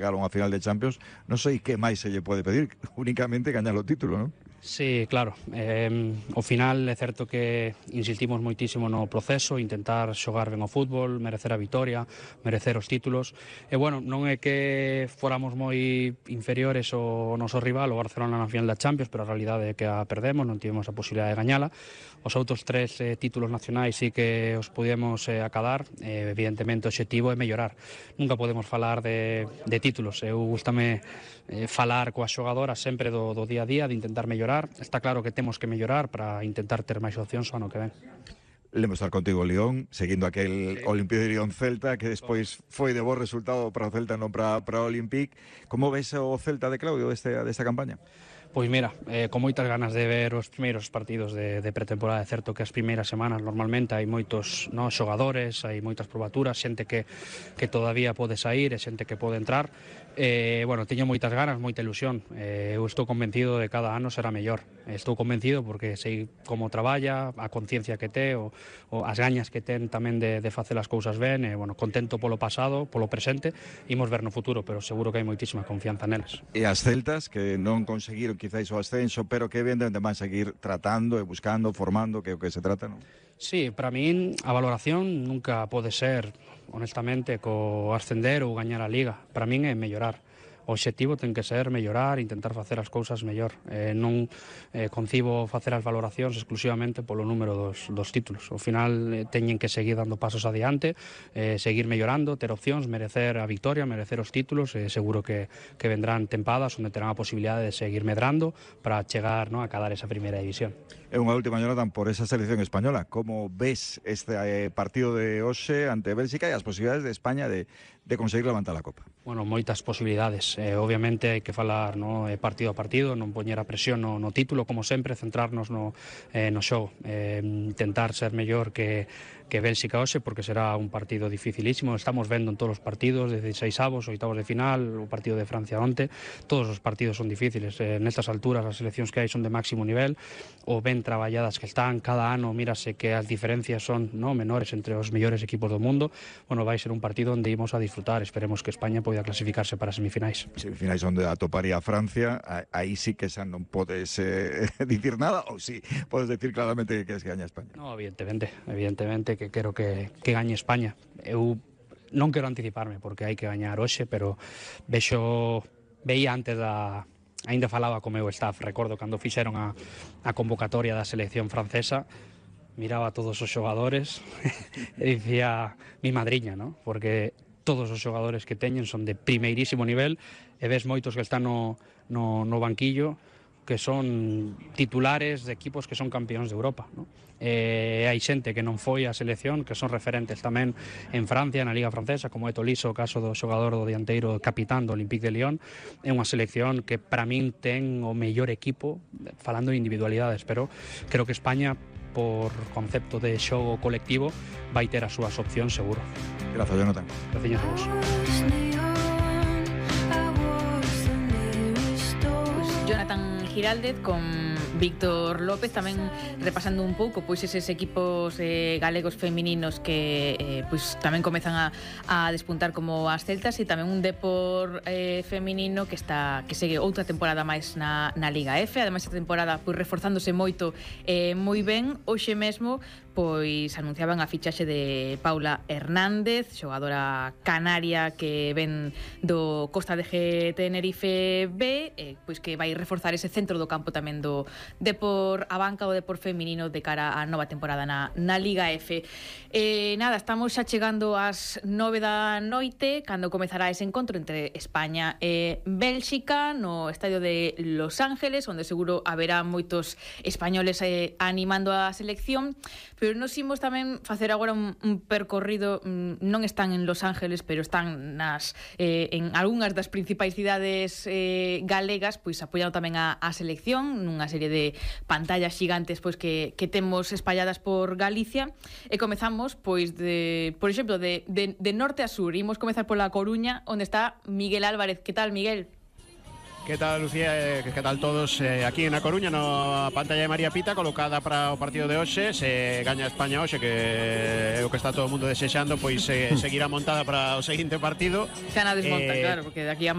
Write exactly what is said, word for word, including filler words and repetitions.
chegar a unha final de Champions, non sei que máis se lle pode pedir, únicamente gañar o título, non? Sí, claro, eh, ao final é certo que insistimos moitísimo no proceso, intentar xogar ben o fútbol, merecer a vitoria, merecer os títulos, e bueno, non é que fóramos moi inferiores ao noso rival, o Barcelona na final da Champions, pero a realidade é que a perdemos, non tivemos a posibilidade de gañala. Os outros tres eh, títulos nacionais sí que os pudemos eh, acadar, eh, evidentemente o obxectivo é mellorar, nunca podemos falar de, de títulos, eu gustame eh, falar coas xogadoras sempre do, do día a día, de intentar mellorar. Está claro que temos que mellorar para intentar ter máis opcións ao ano que ven. Lemos estar contigo León, seguindo aquel sí. Olimpia de León Celta, que despois foi de bo resultado para o Celta, non para, para o Olympique. Como ves o Celta de Claudio deste, desta campaña? Pois mira, eh, con moitas ganas de ver os primeiros partidos de, de pretemporada. É certo que as primeiras semanas normalmente hai moitos no, xogadores, hai moitas probaturas, xente que, que todavía pode sair e xente que pode entrar. Eh, bueno, teño moitas ganas, moita ilusión. Eh, eu estou convencido de cada ano será mellor. Estou convencido porque sei como traballa, a conciencia que te, o, o as gañas que ten tamén de, de facer as cousas ben. E, bueno, contento polo pasado, polo presente, imos ver no futuro, pero seguro que hai moitísima confianza neles. E as Celtas, que non conseguiron quizáis o ascenso, pero que evidentemente van seguir tratando e buscando, formando, que é o que se trata, non? Sí, para min a valoración nunca pode ser, honestamente, co ascender ou gañar a Liga. Para min é mellorar. O obxectivo ten que ser mellorar, intentar facer as cousas mellor. Eh, non eh, concibo facer as valoracións exclusivamente polo número dos, dos títulos. Ao final eh, teñen que seguir dando pasos adiante, eh, seguir mellorando, ter opcións, merecer a victoria, merecer os títulos. Eh, seguro que, que vendrán tempadas onde terán a posibilidade de seguir medrando para chegar, no, a cadar esa primeira división. É unha última, Jonathan, por esa selección española. Como ves este eh, partido de hoxe ante Bélxica e as posibilidades de España de, de conseguir levantar a Copa? Bueno, moitas posibilidades. Eh, obviamente hai que falar, no, partido a partido, non poñer a presión no, no título, como sempre, centrarnos no, eh, no xogo. Eh, intentar ser mellor que, que Bélxica hoxe, porque será un partido dificilísimo. Estamos vendo en todos os partidos, dieciséis avos, oitavos de final, o partido de Francia onte, todos os partidos son difíciles. Eh, nestas alturas as seleccións que hai son de máximo nivel, o ben traballadas que están, cada ano mírase que as diferencias son, no, menores entre os mellores equipos do mundo. Bueno, vai ser un partido onde imos a disfrutar. Esperemos que España poida clasificarse para as semifinais. Semifinais onde atoparía a Francia, aí sí que xa non podes eh, dicir nada, ou sí, podes decir claramente que queres que gañe España. No, evidentemente, evidentemente que quero que, que gañe España. Eu non quero anticiparme porque hai que gañar hoxe, pero vexo, veía antes da... Ainda falaba co meu staff, recordo cando fixeron a, a convocatoria da selección francesa, miraba a todos os xogadores e dicía mi madriña, ¿no? Porque todos os xogadores que teñen son de primeirísimo nivel e ves moitos que están no, no, no banquillo que son titulares de equipos que son campeóns de Europa, ¿no? Eh, hai xente que non foi á selección, que son referentes tamén en Francia, na Liga Francesa, como é Tolisso, o caso do xogador do dianteiro capitán do Olympique de Lyon. É unha selección que para min ten o mellor equipo, falando de individualidades, pero creo que España, por concepto de xogo colectivo, vai ter as súas opcións seguro. Gracias, Jonathan. Gracias a vos. Jonathan Giraldez con Víctor López tamén repasando un pouco pois eses equipos eh, galegos femininos que eh, pois tamén comezan a, a despuntar como as celtas, e tamén un Depor eh, feminino que está que segue outra temporada máis na, na Liga F. Ademais, esta temporada pois reforzándose moito eh, moi ben. Hoxe mesmo pois anunciaban a fichaxe de Paula Hernández, xogadora canaria que ven do Costa de G Tenerife B, eh, pois que vai reforzar ese centro do campo tamén do Depor a banca, o Depor feminino de cara á nova temporada na, na Liga F. Eh, nada, estamos xa chegando ás nove da noite cando comezará ese encontro entre España e Bélxica no estadio de Los Ángeles, onde seguro haberá moitos españoles eh, animando a selección. Pero nos imos tamén facer agora un, un percorrido, non están en Los Ángeles, pero están nas eh, en algunhas das principais cidades eh, galegas, pois apoiando tamén a, a selección nunha serie de pantallas xigantes pois que, que temos espalladas por Galicia. E comezamos, pois, de, por exemplo, de, de, de norte a sur. Imos comezar pola Coruña, onde está Miguel Álvarez. Que tal, Miguel? Que tal, Lucía? Eh, que tal todos eh, aquí en A Coruña, na pantalla de María Pita, colocada para o partido de hoxe. Se gaña España hoxe, que é o que está todo o mundo desexando, pois eh, seguirá montada para o seguinte partido. Xa na desmonta, Eh, claro, porque de aquí a